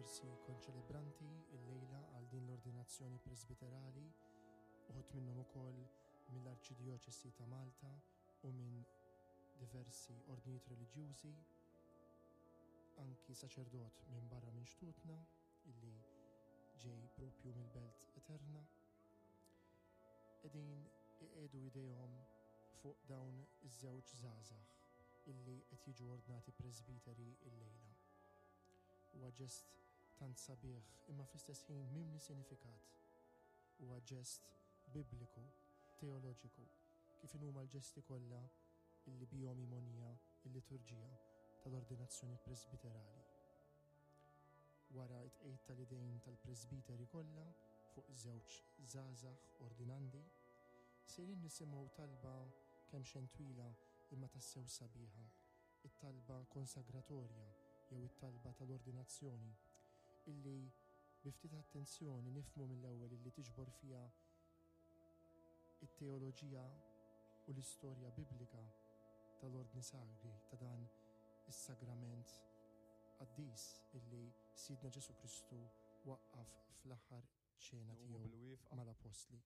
Diversi konċelebranti illejla għal din l-ordinazzjoni presbiterali, uħud minnhom ukoll mill-Arċidjoċesi ta' Malta u minn diversi ordnijiet reliġjużi, anki saċerdot minn barra minn xtutna illi ġej propju mill-Belt Eterna. Qegħdin iqiegħdu idejhom fuq dawn iż-żewġ żgħażagħ illi qed jiġu ordnati presbiteri illejla. Huwa ġest tant sabiħ imma fl-istess ħin mimli sinifikat. Huwa ġest bibliku, teoloġiku, kif inhuma l-ġesti kollha illi bihom hi mogħnija l-liturġija tal-ordinazzjoni presbiterali. Wara t-tqegħid tal-idejn tal-presbiteri kollha fuq żewġ żgħażagħ ordinandi, sejrin nisimgħu talba kemxejn twila imma tassew sabiħa, it-talba konsagratorja jew it-talba tal-ordinazzjoni, illi bi ftit attenzjoni nifhmu mill-ewwel illi tiġbor fiha it-teoloġija u l-istorja biblika tal-Ordni Sagri, ta' dan is-sagrament qaddis illi Sidna Ġesù Kristu waqqaf fl-aħħar ċena Nqumu tiegħu bil-wieqfa. mal-Appostli.